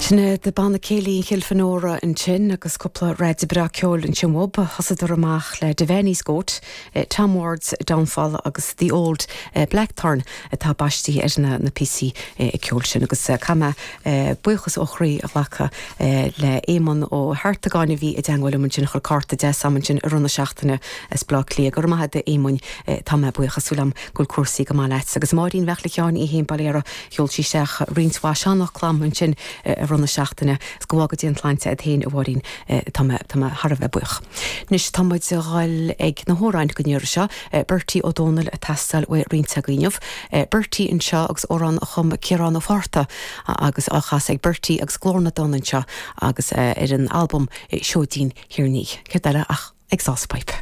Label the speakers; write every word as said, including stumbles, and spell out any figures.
Speaker 1: Sin iad Banna Céilí Chill Fhionnúrach ansin agus cúpla rud breá ceoil ansin uathub thosaíodar amach le Devaney's Goat, Tom Ward's Downfall agus The Old Blackthorn atá baistí ar na na píosaí ceoil sin agus caithfidh mé buíochas ó chroí a ghlacadh le Éamonn Ó hArtagáin a bhí i dteagmháil liom ansin chuir cárta deas agam ansin i rith na seachtaine as Bleá Cliath. Go raibh maith agat Éamoinn tá mé buíoch súil agam go bhfuil cúrsaí go maith leat agus Máirín Bheachla Sheáin í héin Baléara sheol sí isteach roinnt mhaith seanfhocal agam ansin i rith na seachtaine is go bhfága Dia an tsláinte agat féin a Mháirín tá mé tá mé thar a bheith buíoch. Anois tá muid ag dul ag na hamhráin don iarraidh seo, Bertie Ó Dónaill ag teastáil ó roinnt agaibh. Bertie anseo agus amhrán a chum Ciarán Ó Fátharta agus á chasadh ag Bertie agus Glór na dTonn anseo agus ar an albam Seoidín Thír an Fhia. Céard eile ach Exhaust Pipe.